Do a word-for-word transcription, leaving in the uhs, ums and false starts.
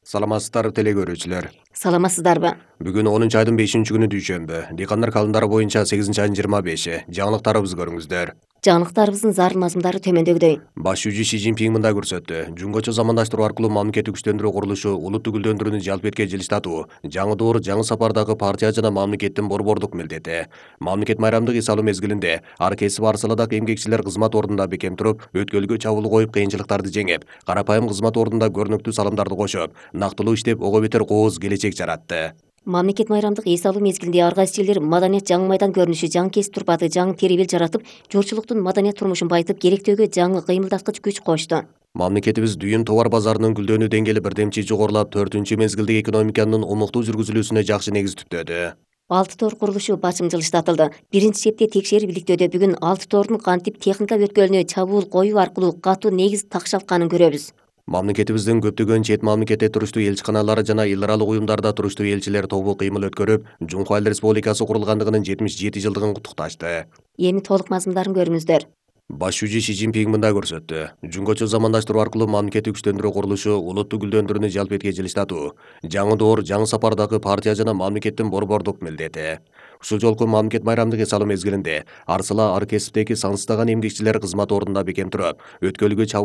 Саламатсыздар теле көрүүчүлөр. Саламатсыздарбы? Бүгүн онунчу айдын бешинчи күнү дүйшөмбү. Дыйкандар календары боюнча сегизинчи айдын жыйырма беши. Жаңылыктарыбызды көрүңүздөр. Жаңылыктарыбыздын зарыл мазмундары төмөндөгүдөй. Баш жүзү Си Цзиньпин мындай көрсөттү. Жумгочу замандаштыруу аркылуу мамлекеттик күчтөндүрүү курулушу улутту гүлдөндүрүүнү жалп эткен жылыштатуу. Жаңы доор, жаңы сапардагы партия жана мамлекеттин борбордук милдети. Мамлекет майрамдык эс алуу мезгилинде ар кесип ар саладагы эмгекчилер кызмат ордунда бекем туруп, өткөлгө чабуул коюп, кыйынчылыктарды жеңип, карапайым кызмат ордунда көрүнүктүү салымдарды кошуп, нактылуу иштеп, ого бетер кооз келечек жаратты. Мамлекет майрамдык эс алуу мезгилинде ар кайсы элдер маданият жаңы майдан көрүнүшү, жаңы кесип турпаты, жаңы теребел жаратып, журтчулуктун маданият турмушун байытып, керектөөгө жаңы кыймылдаткыч күч кочту. Мамлекетибиз дүйүн товар базарынын гүлдөнүү деңгээли бирдемчи жогорулап, төртүнчү мезгилдеги экономиканын умуктуу жүргүзүлүүсүнө жакшы негиз түптөдү. Алты тоор курулушу башым жылыштатылды. Биринчи четте текшерип иликтөөдө бүгүн алты тоордун кантип техника өткөлүнө чабуул коюу аркылуу катуу негиз такшалтканын көрөбүз. Мамлекетибиздин көптөгөн чет мамлекетте туруштуу элчиканалары жана эл аралык уюмдарда туруштуу элчилер тобу кыймыл өткөрүп, Жумху Айыл Республикасы курулгандыгынын жетимиш жети жылдыгын куттукташты. Эми толук мазмундарын көрүңүздөр. Баш жүзү Си Цзиньпин мындай көрсөттү. Жумгочу замандаштыруу аркылуу мамлекеттик күчтөндүрүү курулушу улутту гүлдөндүрүүнү жалп эткен жылыштатуу. Жаңы доор, жаңы сапардагы партия жана мамлекеттин борбордук милдети. Ушул жолку мамлекет майрамдык эс алуу мезгилинде ар сала ар кесиптеги сансыздаган эмгекчилер кызмат ордунда бекем туруп, өткөлгө чабуул